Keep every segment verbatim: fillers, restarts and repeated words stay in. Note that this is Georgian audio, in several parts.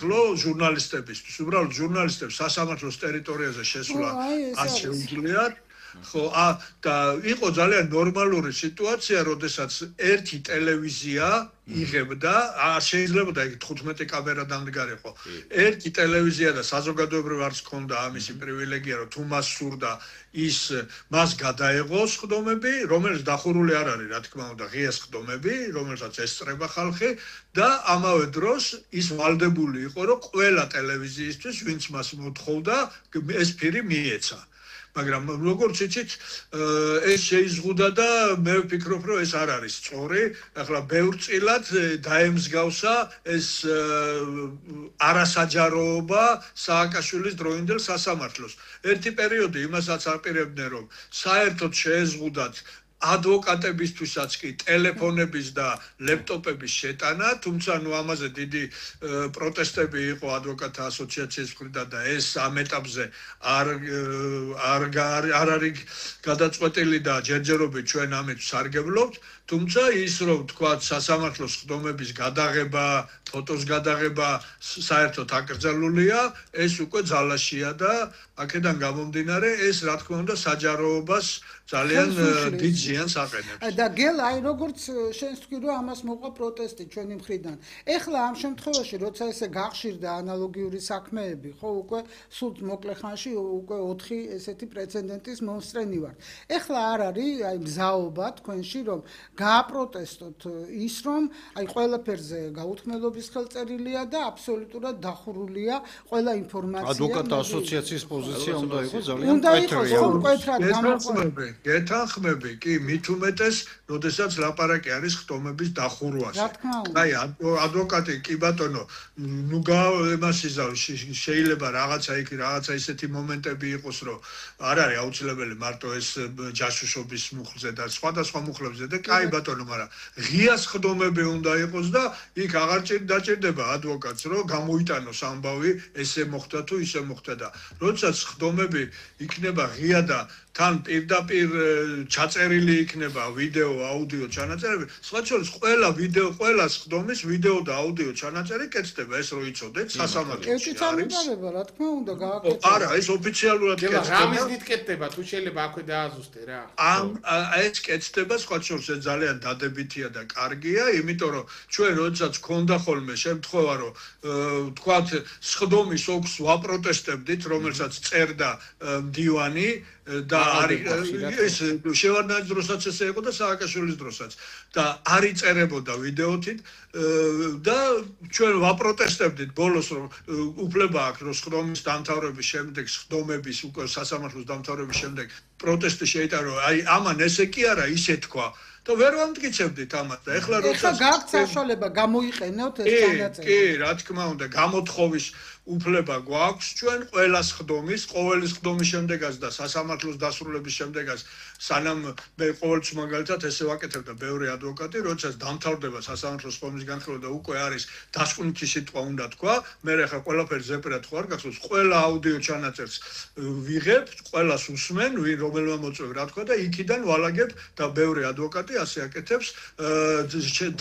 ლო ჟურნალისტებისთვის, უბრალოდ ჟურნალისტებს სასამართლოს ტერიტორიაზე შესვლა არ შეუძლიათ. ხო, ა და იყო ძალიან ნორმალური სიტუაცია, როდესაც ერთი ტელევიზია იღებდა, არ შეიძლებოდა იქ თხუთმეტი კამერა დამდგარიყო. ერთი ტელევიზია და საზოგადოებრივ არც ჰქონდა ამისი პრივილეგია, რომ თუ მას სურდა ის მას გადაეღოს ხდომები, რომელიც დახურული არ არის, რა თქმა უნდა, ღია ხდომები, რომელსაც ესწრება ხალხი და ამავე დროს ის ვალდებული იყო, რომ ყველა ტელევიზიისთვის, ვინც მას მოთხოვდა, ეს ფირი მიეცა. მაგრამ როგორც იცით, ეს შეიზღუდა და მე ვფიქრობ, რომ ეს არ არის სწორი. ახლა ბევრწილად დაემსგავსა ეს არასაჯაროობა სააკაშვილის დროინდელ სასამართლოს. ერთი პერიოდი იმასაც აპირებდნენ, რომ საერთოდ შეეზღუდათ ადვოკატებისთვისაც კი ტელეფონების და ლეპტოპების შეტანა, თუმცა ნუ ამაზე დიდი პროტესტები იყო ადვოკატთა ასოციაციის მხრიდან და ეს ამ ეტაპზე არ არ არ არის გადაწყვეტილი და ჯერჯერობით ჩვენ ამით სარგებლობთ, თუმცა ის რომ თქვა სასამართლოს ხდომების გადაღება, ფოტოს გადაღება საერთოდ აკრძალულია, ეს უკვე ძალაშია და აქედან გამომდინარე ეს რა თქმა უნდა საჯაროობას ძალიან დიდ ზიანს აყენებს. და გელ აი როგორც შენს თქვი რომ ამას მოყვა პროტესტი ჩვენი მხრიდან. ეხლა ამ შემთხვევაში როცა ესე გახშირდა ანალოგიური საქმეები, ხო უკვე სულ მოკლე ხანში უკვე ოთხი ესეთი პრეცედენტის მომსწრენი ვართ. ეხლა არ არის აი მზაობა თქვენში რომ გააპროტესტოთ ის რომ აი ყველაფერზე გაუთქმელობის ხელწერილია და აბსოლუტურად დახურულია ყველა ინფორმაცია. ადვოკატთა ასოციაციის პოზიცია უნდა იყოს ძალიან უნდა იყოს კონკრეტულად გამოყვება. გეთანხმები, კი, მით უმეტეს, როდესაც ლაპარაკი არის ხდომების დახურვაზე. აი, ადვოკატი, კი ბატონო, ნუ იმასიზავ შეიძლება რაღაცა იქ რაღაცა ისეთი მომენტები იყოს, რომ არ არის აუცილებელი მარტო ეს ჯაშუშობის მუხლზე და სხვადასხვა მუხლებზე და კაი ბატონო, მაგრამ ღიას ხდომები უნდა იყოს და იქ აღარ დაჭირდება ადვოკატს, რომ გამოიტანოს ამბავი, ესე მოხდა თუ ისე მოხდა და როდესაც ხდომები იქნება ღია და თან პირდაპირ ჩაწერილი იქნება ვიდეო, აუდიო ჩანაწერები, სხვა შორის ყველა ვიდეო, ყველა ხდომის ვიდეო და აუდიო ჩანაწერი კეთდება, ეს რო იცოდეთ, სასამართლოში. კეთილი წარმოგარება, რა თქმა უნდა, გააკეთება. არა, ეს ოფიციალურად კეთდება. რამის დიდ კეთდება, თუ შეიძლება აქვე დააზუსტე რა. ამ ეს კეთდება, სხვა შორის ეს ძალიან დადებითია და კარგია, იმიტომ რომ ჩვენ როდესაც გქონდა ხოლმე შემთხვევა, რომ თქვათ, სხდომის ოქს ვაპროტესტებდით, რომელსაც წერდა მდივანი და არის ეს შევარდნაძის დროსაც ესე იყო და სააკაშვილის დროსაც და არ იწერებოდა ვიდეოთით და ჩვენ ვაპროტესტებდით ბოლოს რომ უფლება აქვს რომ სხდომის დამთავრების შემდეგ სხდომების უკვე სასამართლოს დამთავრების შემდეგ პროტესტი შეიტარო აი ამან ესე კი არა ისე თქვა და ვერ ვამტკიცებდით ამას და ეხლა როცა გაქვთ საშუალება გამოიყენოთ ეს განაწილება კი რა თქმა უნდა გამოთხოვის უფლება გვაქვს ჩვენ ყველა სხდომის ყოველი სხდომის შემდეგაც და სასამართლოს დასრულების შემდეგაც სანამ მე ყოველთვის მაგალითად ესე ვაკეთებ და ბევრი ადვოკატი როდესაც დამთავრდება სასამართლოს სხდომის განხილვა და უკვე არის დასკვნითი სიტყვა უნდა თქვა მე ახლა ყველაფერი ზეპირად ხო არ გახსოვს ყველა აუდიო ჩანაწერს ვიღებ ყველას უსმენ ვინ რომელმა მოწვევ რა თქვა და იქიდან ვალაგებ და ბევრი ადვოკატი ასე აკეთებს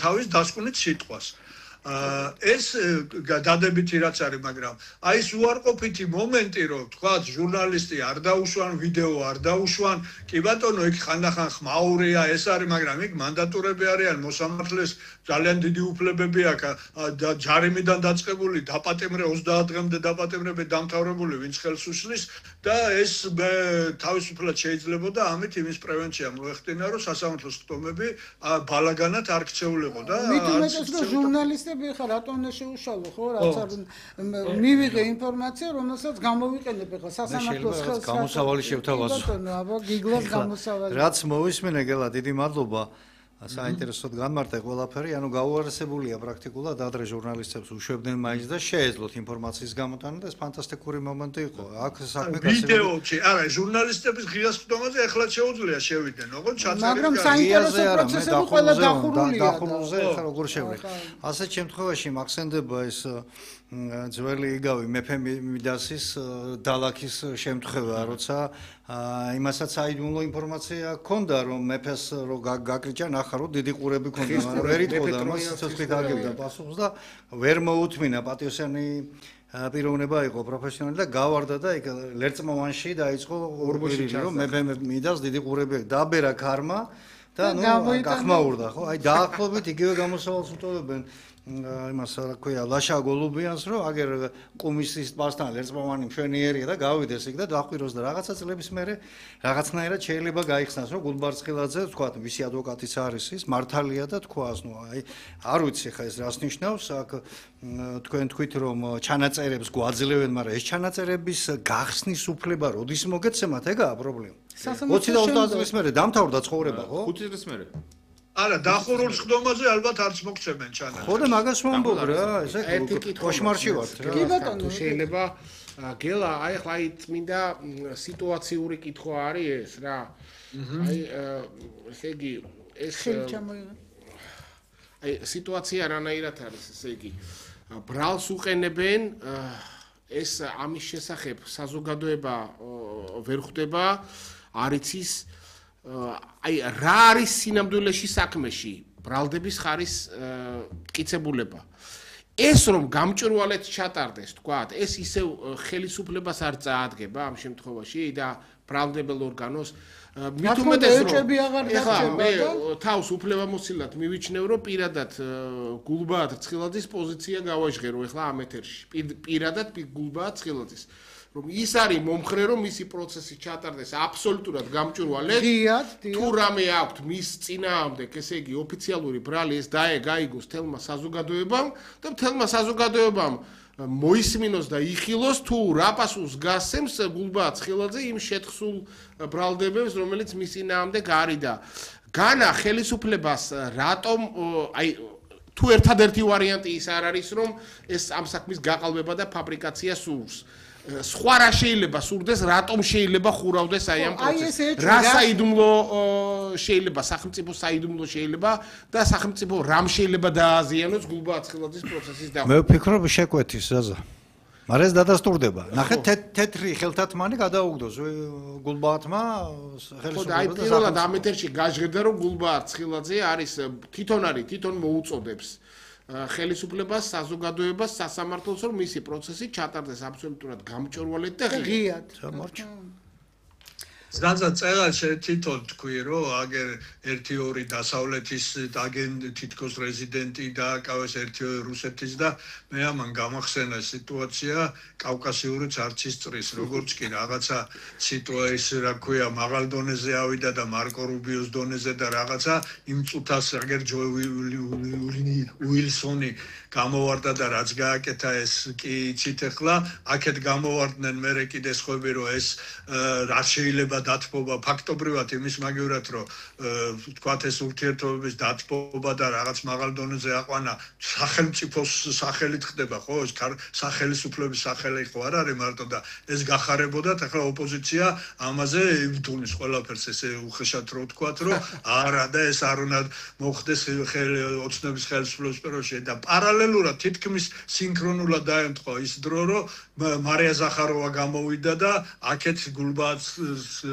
თავის დასკვნით სიტყვას ეს დადებითი რაც არის, მაგრამ აი ეს უარყოფითი მომენტი, რომ თქვა ჟურნალისტი არ დაუშვან, ვიდეო არ დაუშვან, კი ბატონო, იქ ხანდახან ხმაურია, ეს არის, მაგრამ იქ მანდატურები არიან, მოსამართლეს ძალიან დიდი უფლებები აქვს და ჯარიმიდან დაწყებული, დაპატიმრე ოცდაათ დღემდე დაპატიმრები დამთავრებული, ვინც ხელს უშლის და ეს თავისუფლად შეიძლებოდა ამით იმის პრევენცია მოეხდინა, რომ სასამართლოს ხდომები ბალაგანად არ ქცეულიყო და მით უმეტეს რომ ჟურნალისტი ხა რატომ უნდა შეუშალო ხო რაც არ მივიღე ინფორმაცია რომელსაც გამოვიყენებ ხა სასამართლოს ხელს გამოსავალი შევთავაზო ბატონო აბა გიგლას გამოსავალი რაც მოვისმენე გელა დიდი მადლობა საინტერესოდ განმარტე ყველაფერი, ანუ გაუარესებულია პრაქტიკულად ადრე ჟურნალისტებს უშვებდნენ მაინც და შეეძლოთ ინფორმაციის გამოტანა და ეს ფანტასტიკური მომენტი იყო. აქ საქმე ვიდეოებში, არა, ჟურნალისტების ღიას ხდომაზე ახლა შეუძლია შევიდნენ, ოღონდ ჩაწერილი. მაგრამ საინტერესო პროცესები ყველა დახურულია. დახურულზე ახლა როგორ შევიდე. ასეთ შემთხვევაში მახსენდება ეს ძველი იგავი მეფე მიდასის დალაქის შემთხვევა, როცა იმასაც საიდუმლო ინფორმაცია ჰქონდა, რომ მეფეს რო გაკრიჭა ნახა, რომ დიდი ყურები ჰქონდა, მაგრამ ვერ იტყოდა მას სიცოცხლით აგებდა პასუხს და ვერ მოუთმინა პატიოსანი პიროვნება იყო პროფესიონალი და გავარდა და იქ ლერწმოვანში დაიწყო ორბოში რომ მეფე მიდას დიდი ყურები დაბერა ქარმა და ნუ გახმაურდა ხო? აი დაახლოებით იგივე გამოსავალს უტოლობენ იმას რა ქვია ლაშა გოლუბიანს რომ აგერ კომისიის პასთან ლერწმოვანი მშვენიერია და გავიდეს იქ და დაახვიროს და რაღაცა წლების მერე რაღაცნაირად შეიძლება გაიხსნას რომ გულბარცხილაძე თქვა ვისი ადვოკატიც არის ის მართალია და თქვას ნუ აი არ ვიცი ხა ეს რას ნიშნავს აქ თქვენ თქვით რომ ჩანაწერებს გვაძლევენ მაგრამ ეს ჩანაწერების გახსნის უფლება როდის მოგეცემათ ეგაა პრობლემა ოცი და ოცდაათ წლის მერე დამთავრდა ცხოვრება ხო ხუთი წლის მერე არა დახურულ სხდომაზე ალბათ არც მოგცემენ ჩანაწერს ხო და მაგას ვამბობ რა ესე კოშმარში ვართ რა კი ბატონო შეიძლება გელა აი ხლა აი წმინდა სიტუაციური კითხვა არის ეს რა აი ესე იგი ეს აი სიტუაცია რანაირად არის ესე იგი ბრალს უყენებენ ეს ამის შესახებ საზოგადოება ვერ ხვდება არიცის აი რა არის სინამდვილეში საქმეში ბრალდების ხარის მტკიცებულება ეს რომ გამჭვირვალედ ჩატარდეს თქვათ ეს ისევ ხელისუფლებას არ წაადგება ამ შემთხვევაში და ბრალდებელ ორგანოს მით უმეტეს რომ ეხლა მე თავს უფლებამოსილად მივიჩნევ რომ პირადად გულბაათ ცხილაძის პოზიცია გავაჟღერო ეხლა ამ ეთერში პირადად გულბაათ ცხილაძის რომ ის არის მომხრე რომ მისი პროცესი ჩატარდეს აბსოლუტურად გამჭვირვალედ თუ რამე აქვთ მის წინააღმდეგ ესე იგი ოფიციალური ბრალი ეს დაეგაიგოს თელმა საზოგადოებამ და თელმა საზოგადოებამ მოისმინოს და იხილოს თუ რა პასუხს გასცემს გულბაათ ცხილაძე იმ შეთხსულ ბრალდებებს რომელიც მის წინააღმდეგ არის და განა ხელისუფლებას რატომ აი თუ ერთადერთი ვარიანტი ის არ არის რომ ეს ამ საქმის გაყალბება და ფაბრიკაცია სურს სხვა რა შეიძლება სურდეს რატომ შეიძლება ხურავდეს აი ამ პროცესს რა საიდუმლო შეიძლება სახელმწიფო საიდუმლო შეიძლება და სახელმწიფო რამ შეიძლება დააზიანოს გულბაათ ცხილაძის პროცესის და მე ვფიქრობ შეკვეთის ზაზა მაგრამ ეს დადასტურდება ნახეთ თეთრი ხელთათმანი გადაუგდოს გულბაათმა ხელისუფლებას და აი პირველად ამ ეთერში გაჟღერდა რომ გულბაათ ცხილაძე არის თვითონ არის თვითონ მოუწოდებს ხელისუფლებას საზოგადოებას სასამართლოს რომ მისი პროცესი ჩატარდეს აბსოლუტურად გამჭვირვალედ და ღიად გამორჩა ზანზა წერა თვითონ თქვი რომ აგერ ერთი ორი დასავლეთის აგენ თითქოს რეზიდენტი დააკავეს ერთი ორი რუსეთის და მე ამან გამახსენა სიტუაცია კავკასიურიც არც ის წრის როგორც კი რაღაცა სიტუაცია რა ქვია მაღალ დონეზე ავიდა და მარკო რუბიოს დონეზე და რაღაცა იმ წუთას აგერ ჯო უილსონი გამოვარდა და რაც გააკეთა ეს კი იცით ახლა აქეთ გამოვარდნენ მე კიდე სხვები რომ ეს რა შეიძლება დათბობა ფაქტობრივად იმის მაგივრად რომ თქვათ ეს ურთიერთობების დათბობა და რაღაც მაღალ დონეზე აყვანა სახელმწიფოს სახელით ხდება ხო ეს სახელისუფლების სახელი ხო არ არის მარტო და ეს გახარებოდათ ახლა ოპოზიცია ამაზე იბრძოლის ყველაფერს ესე უხეშად რო თქვათ რომ არა და ეს არ უნდა მოხდეს ოცნების ხელისუფლების პერიოდში და პარალელურად თითქმის სინქრონულად დაემთხვა ის დრო რომ მარია ზახაროვა გამოვიდა და აქეთ გულბაათ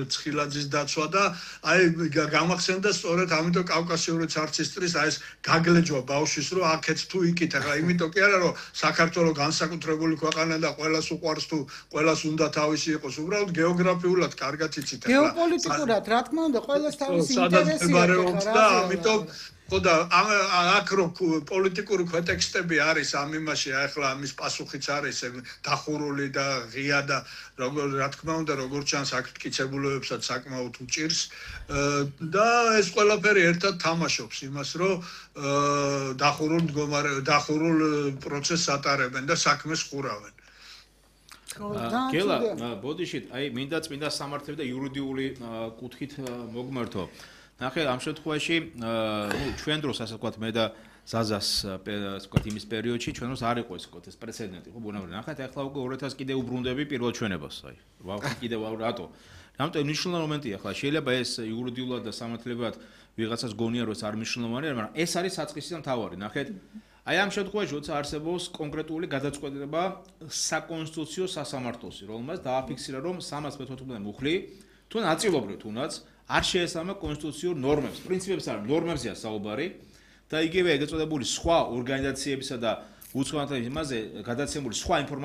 ცხილაძის დაცვა და აი გამახსენდა სწორედ ამიტომ კავკასიურიც არც ის წრის აი ეს გაგლეჯვა ბავშვის რომ აქეთ თუ იქით ახლა იმიტომ კი არა რომ საქართველოს განსაკუთრებული ქვეყანა და ყველას უყვარს თუ ყველას უნდა თავისი იყოს უბრალოდ გეოგრაფიულად კარგად იცით ახლა გეოპოლიტიკურად რა თქმა უნდა ყველას თავისი ინტერესი აქვს და ამიტომ ხოდა აქ რო პოლიტიკური ქვეტექსტები არის ამ იმაში ახლა ამის პასუხიც არის დახურული და ღია და როგორ რა თქმა უნდა როგორც ჩანს აქ მტკიცებულებებსაც საკმაოდ უჭირს და ეს ყველაფერი ერთად თამაშობს იმას რომ დახურულ მდგომარე დახურულ პროცესს ატარებენ და საქმეს ხურავენ გელა ბოდიშით აი მინდა წმინდა სამართლები და იურიდიული კუთხით მოგმართო ნახე ამ შემთხვევაში ნუ ჩვენ დროს ასე ვთქვათ მე და ზაზას ასე ვთქვათ იმის პერიოდში ჩვენ დროს არ იყო ეს ვთქვათ ეს პრეცედენტი ხო ბუნებრივია ნახეთ ახლა უკვე ორი ათას კიდე უბრუნდები პირველ ჩვენებას აი ვავხი კიდე რატო რამტო მნიშვნელოვანი მომენტია ახლა შეიძლება ეს იურიდიულად და სამართლებრივად ვიღაცას გონია რომ ეს არ მნიშვნელოვანია მაგრამ ეს არის საწყისი და მთავარი ნახეთ აი ამ შემთხვევაში როცა არსებობს კონკრეტული გადაწყვეტილება საკონსტიტუციო სასამართლოსი, რომელმაც დააფიქსირა, რომ სამას მეთოთხმეტ მუხლი თუ ნაწილობრივ თუნდაც არ შეესაბამება კონსტიტუციურ ნორმებს, პრინციპებს არ ნორმებზეა საუბარი და იგივე ეგრეთ წოდებული სხვა ორგანიზაციებისა და უცხოეთთან იმაზე გადაცემული სხვა ინფორმაცია